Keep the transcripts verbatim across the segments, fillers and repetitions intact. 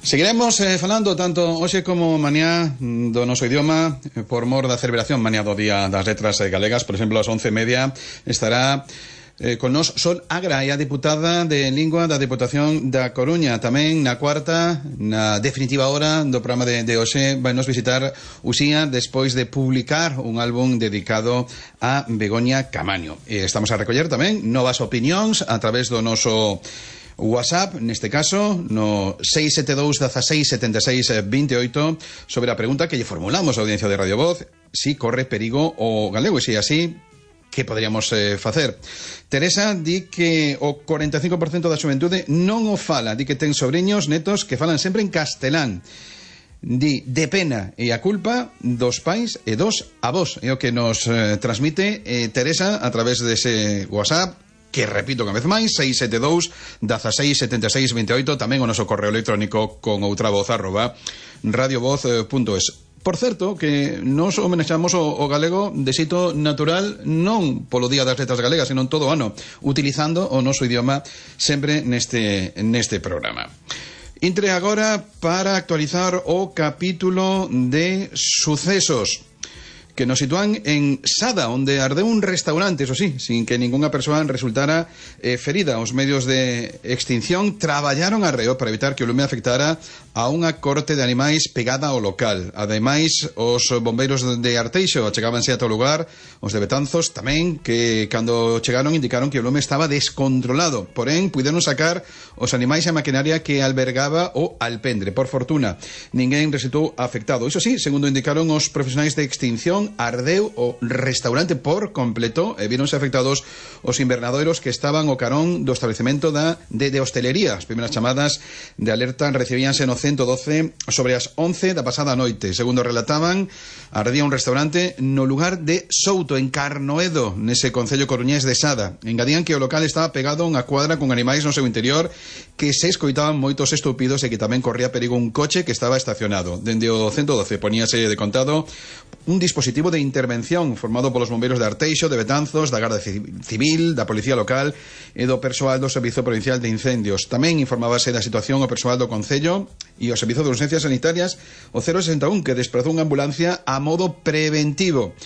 Seguiremos eh, falando tanto hoxe como mañá do noso idioma eh, por mor da celebración mañá do Día das Letras eh, Galegas. Por exemplo, ás once e media estará eh, con nos Sol Agra, e a deputada de Lingua da Deputación da Coruña. Tamén na cuarta, na definitiva hora do programa de, de hoxe, vai nos visitar Uxía despois de publicar un álbum dedicado a Begoña Camaño. E estamos a recoller tamén novas opinións a través do noso WhatsApp, neste caso, no seis sete dous, dieciséis, setenta e seis, veintiocho, sobre a pregunta que lle formulamos a audiencia de Radio Voz: si corre perigo o galego, e se así, que poderíamos eh, facer? Teresa di que o cuarenta e cinco por cento da xuventude non o fala, di que ten sobrinhos, netos que falan sempre en castelán. Di, de pena e a culpa dos pais e dos avós. É o que nos eh, transmite eh, Teresa a través dese WhatsApp, que repito unha vez máis, seis sete dous, dieciséis, setenta e seis, veintiocho, tamén o noso correo electrónico con outra voz arroba radiovoz punto es. Por certo, que nos homenexamos o, o galego de xeito natural, non polo Día das Letras Galegas, sino en todo o ano, utilizando o noso idioma sempre neste, neste programa. Intre agora para actualizar o capítulo de sucesos que nos sitúan en Sada, onde ardeu un restaurante, eso sí, sin que ningunha persoa resultara eh, ferida. Os medios de extinción traballaron arreo para evitar que o lume afectara a unha corte de animais pegada ao local. Ademais, os bombeiros de Arteixo achegábanse ata o lugar, os de Betanzos tamén, que cando chegaron indicaron que o lume estaba descontrolado. Porén, puideron sacar os animais e a maquinaria que albergaba o alpendre. Por fortuna, ninguén resultou afectado. Iso sí, segundo indicaron os profesionais de extinción, ardeu o restaurante por completo e víronse afectados os invernadoiros que estaban ao carón do establecemento da, de, de hostelería. As primeiras chamadas de alerta recibíanse no ciento doce sobre as once da pasada noite. Segundo relataban, ardía un restaurante no lugar de Souto, en Carnoedo, nese concello coruñés de Sada. Engadían que o local estaba pegado a unha cuadra con animais no seu interior, que se escoitaban moitos estúpidos e que tamén corría perigo un coche que estaba estacionado. Dende o ciento doce poníase de contado un dispositivo de intervención formado polos bombeiros de Arteixo, de Betanzos, da Garda Civil, da Policía Local e do persoal do Servizo Provincial de Incendios. Tamén informábase da situación o persoal do Concello e o Servizo de Urgencias Sanitarias, o cero sesenta e un, que desprazou unha ambulancia a modo preventivo.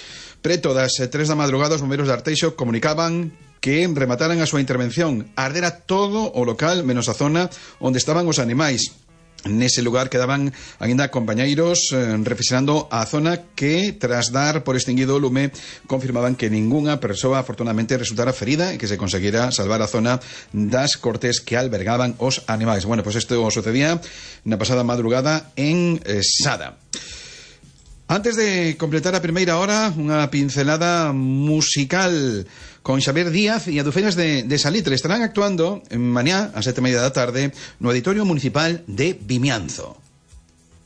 Preto das tres da madrugada, os bombeiros de Arteixo comunicaban que remataran a súa intervención. Ardera todo o local, menos a zona onde estaban os animais. Nese lugar quedaban aínda compañeiros eh, reflexionando a zona que, tras dar por extinguido o lume, confirmaban que ningunha persoa afortunadamente resultara ferida e que se conseguira salvar a zona das cortes que albergaban os animais. Bueno, pois pues isto sucedía na pasada madrugada en eh, Sada. Antes de completar a primeira hora, unha pincelada musical con Xavier Díaz e Adufeñas de, de Salitre. Estarán actuando en mañá, a sete e media da tarde, no Auditorio Municipal de Vimianzo.